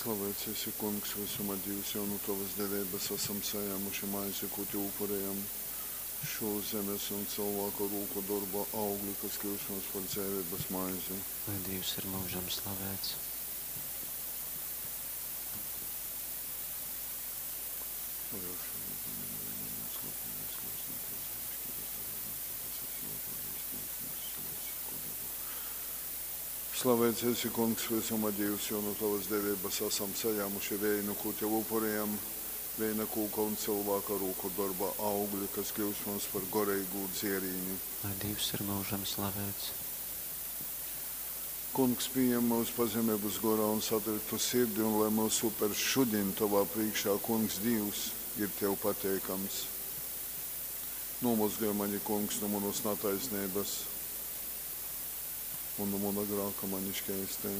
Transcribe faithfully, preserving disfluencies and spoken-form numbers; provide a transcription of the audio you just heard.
Slavēts esi, Kungs, vysuma Dīvs, jo nu tovas deveibas asam sajāmuši maizi, kū tev upurejam. Šū zemes un cylvāka rūku dorba augli, kas kļyus mums par dzeiveibas maizi. Lai Dīvs ir myužam slavēts. Slavēts esi, Kungs, vysuma Dīvs, jo nu tovas deveibas asam sajāmuši veinu, kū tev upurejam, veina kūka un cylvāka rūku dorba augli, kas kļyus mums par goreigū dzierīni. Lai Dīvs ir myužam slavēts. Kungs, pījem myus pazemeibas gorā un satriktu sirdi, un lai myusu upers šudiņ tovā prīškā, Kungs Dīvs, ir tev pateikams. Nūmozgoj mani, Kungs, nu munas nataisneibas un nu muna grāka mani škeistej.